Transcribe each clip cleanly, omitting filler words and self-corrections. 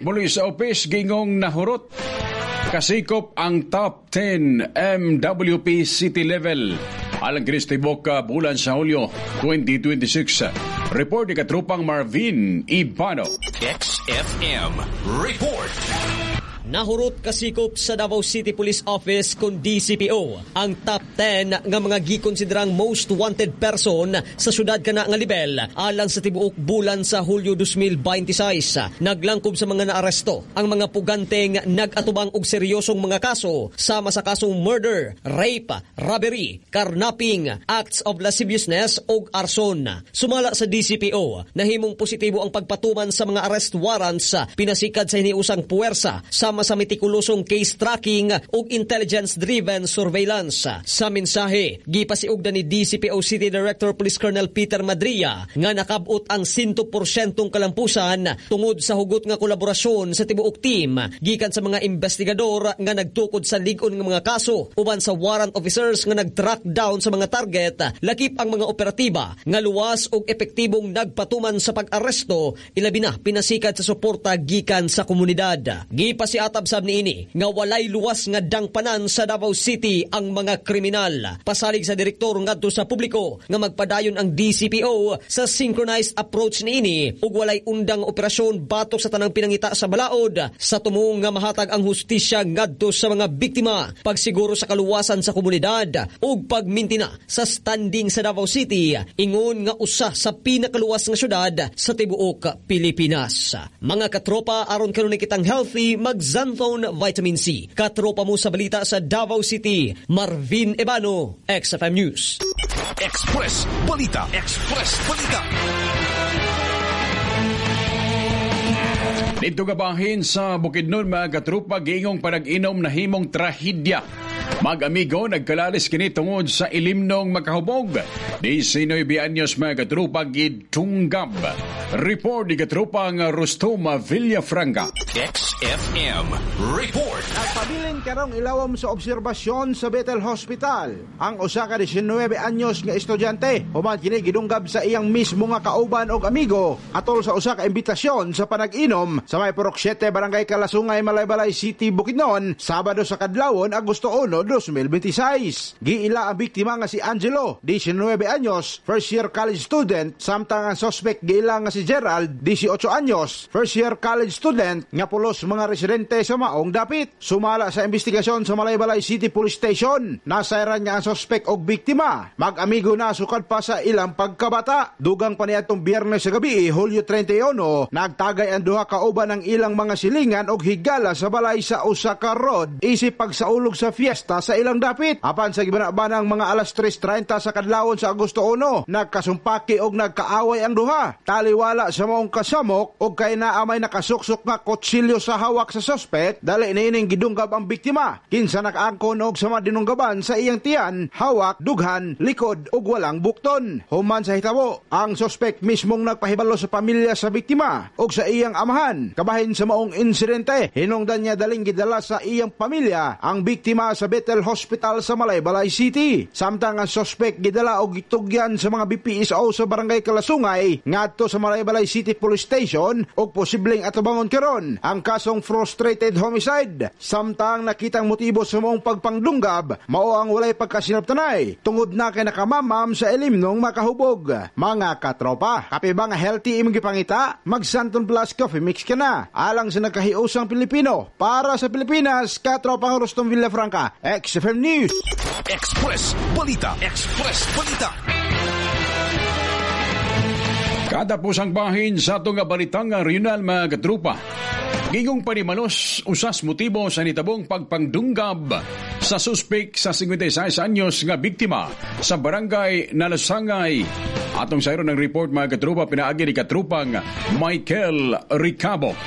Police Office giingong nahurot kasikop ang top 10 MWP city level alang kini sa tibuok bulan sa Hulyo 2026. Report ni katrupang Marvin Ibano. XFM Report. Nahurot kasikop sa Davao City Police Office kon DCPO ang top 10 nga mga gikonsiderang most wanted person sa syudad kana nga lebel alang sa tibuok bulan sa Hulyo 2026. Naglangkob sa mga naaresto ang mga puganteng nag-atubang og seryosong mga kaso sama sa kasong murder, rape, robbery, carnapping, acts of lasciviousness ug arson. Sumala sa DCPO, nahimong positibo ang pagpatuman sa mga arrest warrants pinasikad sa hiniusang puwersa sama sa metikulosong case tracking ug intelligence-driven surveillance. Sa mensahe, gipasiugda ni DCPO City Director Police Colonel Peter Madria nga nakabot ang 100% kalampusan tungod sa hugot nga kolaborasyon sa tibuok team gikan sa mga investigador nga nagtukod sa lig-on nga mga kaso uban sa warrant officers nga nag-track down sa mga target, lakip ang mga operatiba nga luwas ug epektibong nagpatuman sa pag-aresto, ilabi na pinasikat sa suporta gikan sa komunidad. Gipasiatab sab niini nga walay luwas nga dangpanan sa Davao City ang mga kriminal. Pasalig sa direktor ngadto sa publiko nga magpadayon ang DCPO sa synchronized approach niini ug walay undang operasyon batok sa tanang pinangita sa balaod sa tumong nga mahatag ang hustisya ngadto sa mga biktima, pagsiguro sa kaluwasan sa komunidad ug pagmintina sa standing sa Davao City ingon nga usa sa pinakaluwas nga syudad sa tibuok Pilipinas. Mga katropa, aron kanunay kitang healthy, mag-Xanthone Vitamin C. Katropa mo sa balita sa Davao City, Marvin Ebano, XFM News. Express Balita. Express Balita. Dito gabahin sa Bukidnon, mga katrupa, giingong panag-inom na himong trahedya. Mag-amigo, nagkalalis kini tungod sa ilimnong makahubog. 19 anyos, mga katrupa, gitunggab. Report ni katrupang Rustum Villafranca. XFM Report. Nagpabilin karong ilawom sa obserbasyon sa Bethel Hospital ang usa ka 19 anyos nga estudyante human kini gidunggab sa iyang mismo nga kauban og amigo atol sa usa ka imbitasyon sa panag-inom sa may Purok 7, Barangay Kalasungay, Malaybalay City, Bukidnon, Sabado sa kadlawon, Agosto 1, 2026. Giila ang biktima nga si Angelo, 19 anyos, first year college student, samtang ang suspect giila nga si Gerald, 18 anyos, first year college student, nga pulos mga residente sa maong dapit. Sumala sa investigasyon sa Malaybalay City Police Station, nasayran nga ang suspect og biktima mag-amigo na sukad pa sa ilang pagkabata. Dugang pa niadtong Biyernes sa gabi, Hulyo 31, nagtagay ang duha ka uban ang ilang mga silingan og higala sa balay sa usa ka road isip pagsaulog sa fiesta sa ilang dapit. Apan sa gibana-banang mga alas 3:30 sa kadlawon sa Agosto 1, nagkasumpaki og nagkaaway ang duha. Taliwala sa maong kasamok og kay naa may nakasuksok nga kutsilyo sa hawak sa suspect, dali niining gidunggab ang biktima. Kinsa nakaangkon og sama dinunggaban sa iyang tiyan, hawak, dughan, likod ug walang bukton. Human sa hitabo, ang suspect mismong nagpahibalo sa pamilya sa biktima ug sa iyang amahan. Kabahin sa maong insidente, hinungdan niya daling gidala sa iyang pamilya ang biktima sa Bethel Hospital sa Malaybalay City. Samtang ang suspect gidala og gitugyan sa mga BPSO sa Barangay Kalasungay ngadto sa Malaybalay City Police Station og posibleng atubangon karon ang kasong frustrated homicide. Samtang nakitang motibo sa maong pagpangdunggab mao ang walay pagkasinabtanay tungod na kay nakamamam sa ilimnong makahubog. Mga katropa, kape ba nga healthy imong gipangita? Mag Xanthone Plus Coffee Mix ka na. Alang sa nagkahiusang Pilipino, para sa Pilipinas, katropang Rustum Villafranca, XFM News. Express Balita. Express Balita. Katapusang bahin sa atong nga balitang regional, mga katrupa. Gigong panimalos usas motibo sa nitabong pagpangdunggab sa suspek sa 56 anyos nga biktima sa Barangay Nalasangay. Atong sayro ng report, mga katrupa, pinaagi ni katrupang Michael Ricabo.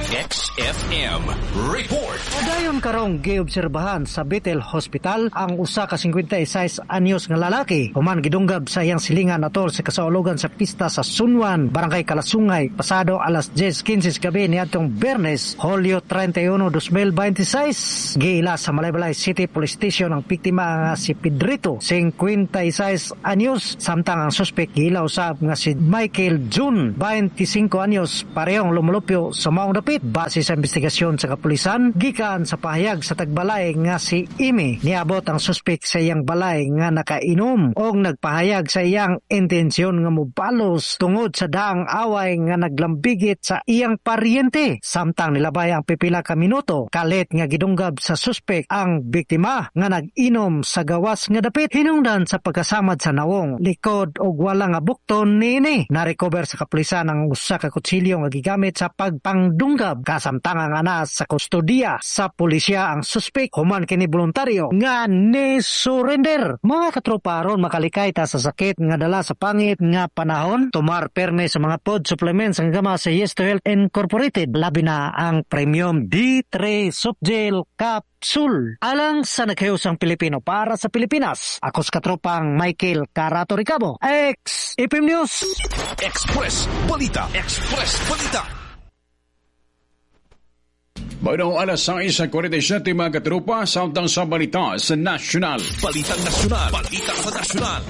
XFM Report. Padayon karong giobserbahan sa Bethel Hospital ang usa ka 56 anyos nga lalaki human gidunggab sa iyang silingan atol sa kasaulogan sa pista sa Sunwan, Barangay Kalasungay, pasado alas 10:15 sa gabi niadtong Biyernes, Hulyo 31, 2026. Giila sa Malaybalay City Police Station ang biktima nga si Pedrito, 56 anyos, samtang ang suspect giila usab nga si Michael June, 25 anyos, parehong lumulupyo sa maong dapit. dapit. Base sa investigasyon sa kapulisan, gikan sa pahayag sa tagbalay nga si Amy, niabot ang suspek sa iyang balay nga nakainom og nagpahayag sa iyang intensyon nga mobalos tungod sa daang away nga naglambigit sa iyang paryente. Samtang nilabay ang pipila ka minuto, kalit nga gidunggab sa suspek ang biktima nga nag-inom sa gawas nga dapit hinungdan sa pagkasamad sa nawong, likod og wala nga bukton niini. Na-recover sa kapulisan ang usa ka kutsilyo nga gigamit sa pagpangdunggab. Kasamtangan nga na sa kustodiya sa pulisya ang suspek human kini voluntaryo nga ni-surrender. Mga katropa, aron makalikay ta sa sakit nga dala sa pangit nga panahon, tumar perme sa mga food supplements ang gama sa Yes to Health Incorporated, labi na ang Premium D3 Softgel Capsule. Alang sa naghihusang Pilipino para sa Pilipinas, ako sa katropang Michael Carato Ricabo, XFM News. Express Balita. Express Balita. Bueno, alas 6:47 mga katropa, samtang sa balita sa national. Balitang nasyonal. Balita sa nasyonal.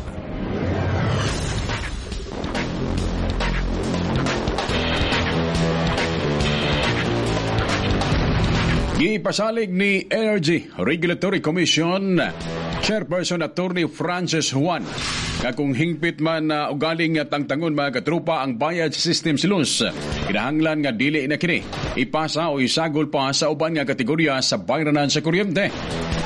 Gipasalig ni Energy Regulatory Commission Chairperson Attorney Francis Juan nga kung hingpit man na ugaling tangtangon mga katrupa ang bayad system silus, kinahanglan nga dili na kini ipasa o isagol pa sa uban nga kategorya sa bayranan sa kuryente.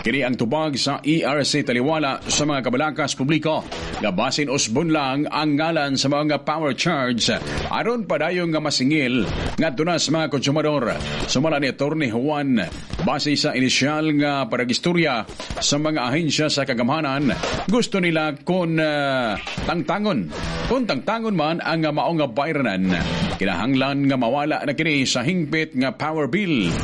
Kini ang tubag sa ERC taliwala sa mga kabalakas publiko nga basin usbon lang ang ngalan sa mga power charge aron padayon nga masingil ngadto na sa mga konsumador. Sumala ni Attorney Juan, base sa inisyal nga paragistorya sa mga ahensya sa kagamhanan, gusto nila kung tangtangon. Kung tangtangon man ang maong nga bayranan, kinahanglan nga mawala na kini sa hingpit nga power bill.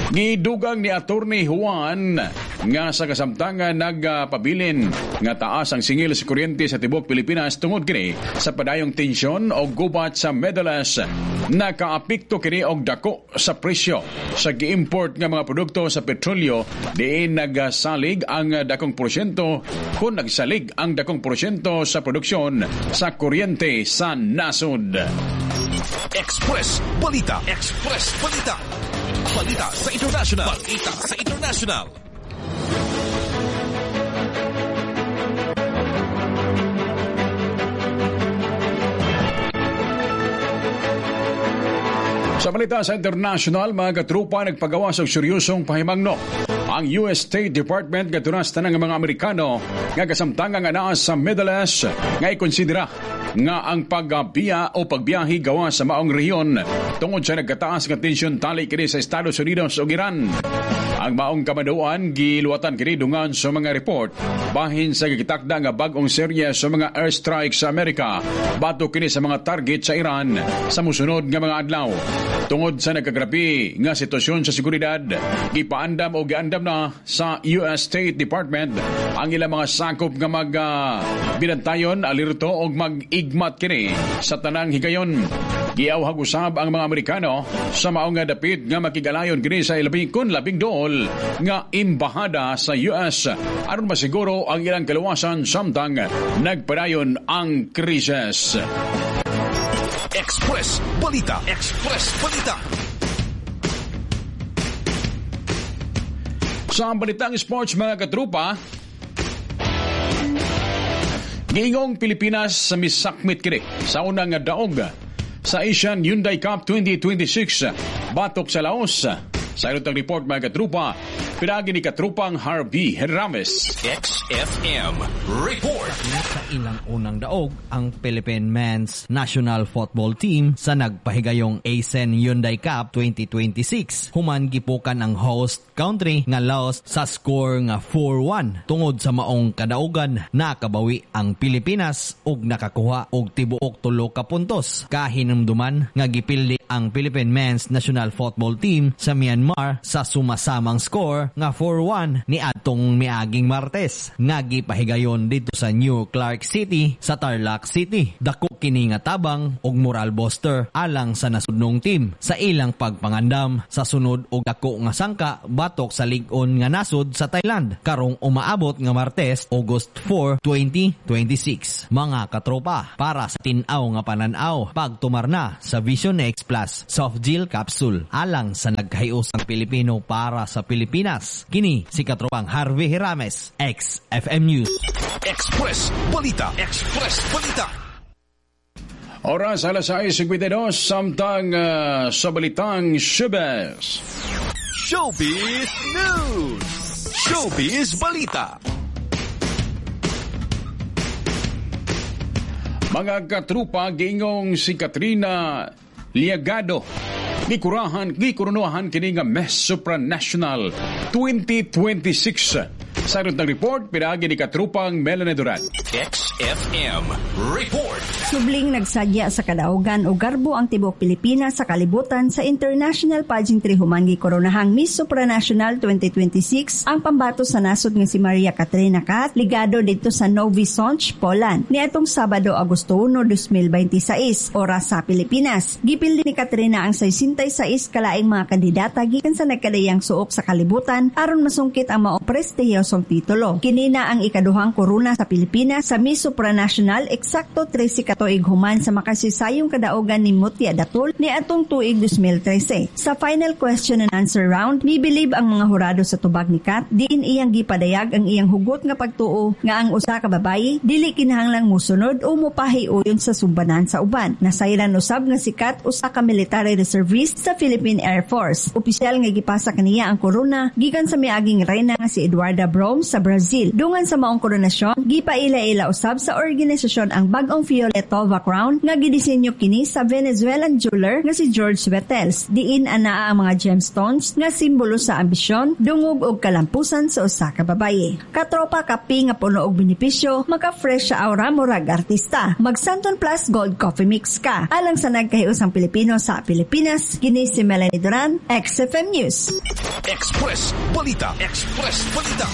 Gidugang ni Attorney Juan nga sa kasamtangan nagpabilin nga taas ang singil sa kuryente sa tibuok Pilipinas tungod kini sa padayong tensyon o gubat sa Middle East. Nakaapekto kini og dako sa presyo sa gi-import nga mga produkto sa petrolyo diin nagsalig ang dakong porsyento kung nagsalig ang dakong porsyento sa produksyon sa kuryente sa nasod. Express Balita. Express Balita. Balita sa International. Balita sa International. Sa balita sa international, mga katrupa, nagpagawa sa seryosong pahimangno ang US State Department katunas tanang mga Amerikano nga kasamtangan nga naa sa Middle East nga ikonsidera nga ang pagbiya o pagbiyahe gawa sa maong rehiyon tungod sa nagkataas nga tensyon tali kini sa Estados Unidos ug Iran. Ang maong kamaduan giluwatan kini dungan sa mga report bahin sa gitakda nga bag-ong serye sa mga airstrike sa Amerika batok kini sa mga target sa Iran sa mosunod nga mga adlaw. Tungod sa nagkagrabe nga sitwasyon sa seguridad, gipaandam o giandam na sa US State Department ang ilang mga sakop nga mag binantayon, alerto og mag-igmat kini sa tanang higayon. Giawhag usab ang mga Amerikano sa maong nga dapit nga makigalayon kini sa labing dool nga embahada sa US aron masiguro ang ilang kaluwasan samtang nagpadayon ang krisis. Express Balita. Express Balita. Sa balitang sports mga katrupa, giingong Pilipinas sa misakmit kini sa unang daog sa Asian Hyundai Cup 2026 batok sa Laos. Sa ilong report mga katrupa, pinagi ni katrupang Harvey Rames. XFM Report. Sa ilang unang daog ang Philippine Men's National Football Team sa nagpahigayong ASEAN Hyundai Cup 2026. Human gipukan ang host country nga Laos sa score nga 4-1. Tungod sa maong kadaugan, nakabawi ang Pilipinas ug nakakuha og tibuok 3 ka puntos. Kahinumduman nga gipildi ang Philippine Men's National Football Team sa Myanmar sa sumasamang score score nga 4-1 ni adtong miaging Martes nga gipahigayon dito sa New Clark City sa Tarlac City. Dako kini nga tabang og moral booster alang sa nasudnong team sa ilang pagpangandam sa sunod og dako nga sangka batok sa lig-on nga nasod sa Thailand karong umaabot nga Martes, August 4, 2026. Mga katropa, para sa tin-aw nga panan-aw, pagtumar na sa Vision X Plus Soft Gel Capsule alang sa nagkahiusang Pilipino para sa Pilipinas. Kini si katropang Harvey Hirames, XFM News. Express Balita. Express Balita. Oras 6:52 samtang sa Balitang Showbiz. Showbiz News. Showbiz Balita. Mga katrupa, giingong si Katrina Liagado gikurahan, gikurunuhan kini nga Miss Supranational 2026. Sa ng report, pinaagi ni katrupang Melanie Duran. XFM Report. Subling nagsadya sa kadaugan o garbo ang tibuok Pilipinas sa kalibutan sa International Pageantry human gikoronahang Miss Supranational 2026 ang pambato sa nasod nga si Maria Katrina Kat Ligado didto sa Novi Sącz, Poland. Niadtong Sabado, Agosto 1, 2026, oras sa Pilipinas. Gipildi ni Katrina ang 66 kalaing mga kandidata gikan sa nagkadayang suok sa kalibutan aron masungkit ang mao prestihiyosong titulo. Kini na ang ikaduhang korona sa Pilipinas sa Miss Supranational, eksakto 13 ka tuig human sa makasisayong kadaogan ni Mutya Datul niadtong tuig 2013. Sa final question and answer round, mibilib ang mga hurado sa tubag ni Kat, diin iyang gipadayag ang iyang hugot nga pagtuo nga ang usa ka babayi dili kinahanglang musunod o mupahiuyon sa sumbanan sa uban. Nasayran usab nga si Kat usa ka military reservist sa Philippine Air Force. Opisyal nga gipasa kaniya ang korona gikan sa miaging reyna nga si Eduarda Brom sa Brazil. Dungan sa maong koronasyon, gipaila-ila usab sa organisasyon ang bag-ong Fioletova Crown nga gidisenyo kini sa Venezuelan jeweler nga si George Wetels. Diin anaa ang mga gemstones nga simbolo sa ambisyon, dungog og kalampusan sa usa ka babaye. Katropa, kape nga puno og benepisyo, maka-fresh sa aura murag artista. Mag Santon Plus Gold Coffee Mix ka. Alang sa nagkahiusang Pilipino sa Pilipinas, kini si Melanie Duran, XFM News. Express Balita. Express Balita.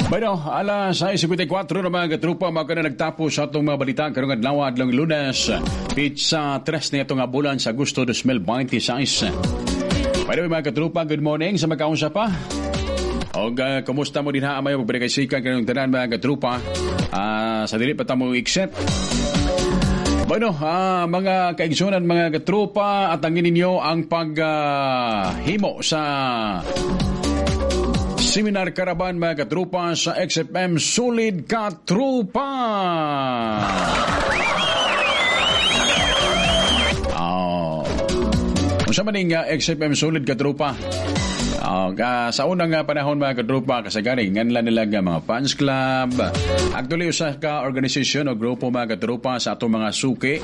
Bueno, 6:54 na mga katrupa, mga na nagtapos sa atong mga balita karong adlaw, adlong Lunes, pitsa 3 na itong bulan sa Agosto 2026. By the way, mga katrupa, good morning sa magkaunsa pa. Og kumusta mo din ha, amayo pagpinakaisikan kanyang tanan mga katrupa, sa dili pa tamo accept. Bueno, mga kaigsunan, mga katrupa, at angin ninyo ang paghimo sa Seminar Caravan mga katrupa sa XFM Solid Katrupa. Oh. Unsa man ning XFM Solid Katrupa? Sa unang panahon mga katrupa, kasagari nganla nila nga mga fans club. Actually usa ka organisasyon o grupo mga katrupa sa atong mga suki.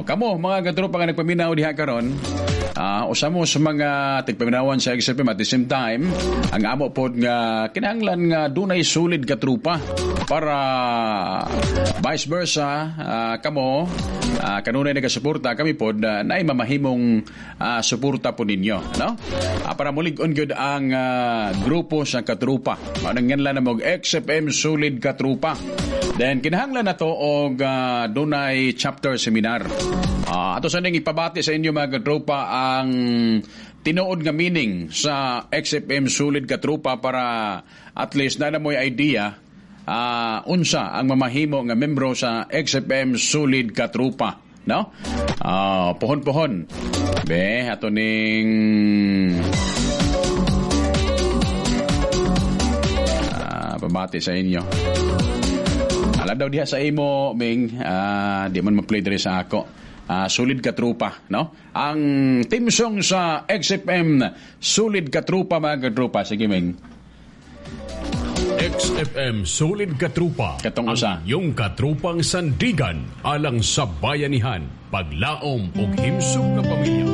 Kamo mga katrupa nga nagpaminaw diha karon, usa mo sa mga tigpaminawan sa XFM at the same time, ang amo pod nga kinahanglan nga dunay solid katrupa para vice versa, kamo kanunay nagasuporta, kami pod naay mamahimong suporta po ninyo, no? Para mulig-on gyud ang grupo sa katrupa. Mao nang nganlan na og XFM Solid Katrupa. Then kinahanglan na to og dunay chapter seminar. Ato sa ning ipabati sa inyo mga katrupa ang tinuod nga meaning sa XFM Solid Katrupa para at least na mo'y idea unsa ang mamahimo nga membro sa XFM Solid Katrupa, no? Pohon-pohon. Be, ato ning pabati sa inyo. Alam daw diha sa imo, Ming, di man ma-play diri sa ako. Solid Katrupa, no? Ang team song sa XFM Solid Katrupa mga katrupa. Sige, Ming. XFM Solid Katrupa. Katong usa. Ang iyong katrupang sandigan alang sa bayanihan, paglaom ug himsog nga pamilya.